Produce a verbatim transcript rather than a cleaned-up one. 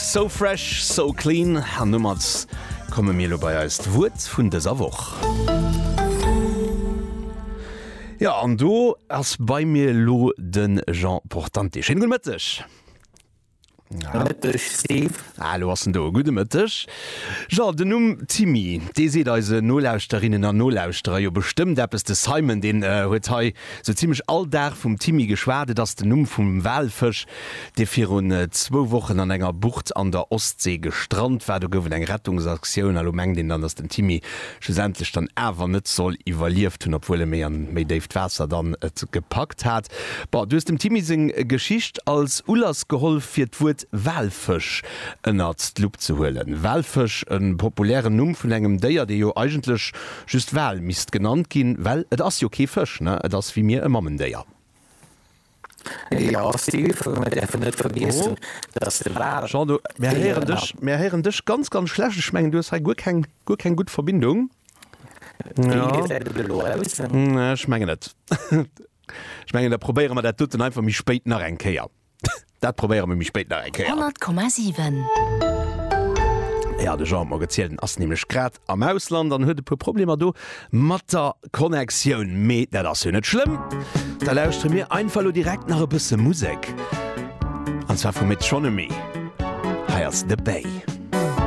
So Fresh, So Clean. An domat komme mir elo bei eist Wuert vun dëser Woch. Jo, an do ass bei mir elo de Jean Portante. Schéine gudde Mëtteg. Mëtteg, Steve. Ah, elo ass en do. Gudde Mëtteg. Jean, den Numm Timmy, dee seet eise Nolauschterinnen an Nolauschterer jo bestëmmt eppes. De Simon, deen huet hei sou zimmlech all Dag vum Timmy geschwat. Et ass den Numm vum Walfësch, dee virun zwou Wochen an enger Bucht an der Ostsee gestrant war. Do gouf et eng Rettungsaktioun a lo mengt een dann, datt den Timmy schlussendlech dann awer net soll iwwerlieft hunn, obwuel e méi an méi déift Waasser dann et gepackt hat. Bon, du hues dem Timmy seng Geschicht als Ulass geholl, fir d'Wuert Walfësch ënnert d'Lupp ze huelen. Walfësch, e populären Numm vun engem Déier, dee jo eigentlech just Wal misst genannt ginn, well et ass jo kee Fësch, ne? Et ass wéi mir e Mamendéier. Jo, Steve, mir däerfen net vergiessen, dass de Wal. Jean, du, mir héieren dech, mir héieren dech ganz, ganz schlecht. Ech mengen, du hues hei guer keng, guer keng gutt Verbindung. Wéi gesäit et elo aus? Ech mengen net. Ech mengen, da probéiere mer dat doten einfach méi spéit nach eng Kéier. Dat probéiere mer méi spéit nach eng Kéier. Honnert Komma siwen. Ja, de Jean huet mer gezielt, en ass nämlech grad am Ausland an huet e puer Problemer do mat der Connectioun. Mee dat ass jo net schlëmm, da lauschtere mir einfach elo direkt nach e bësse Musek. An zwar vu Metronomy. Hei ass The Bay.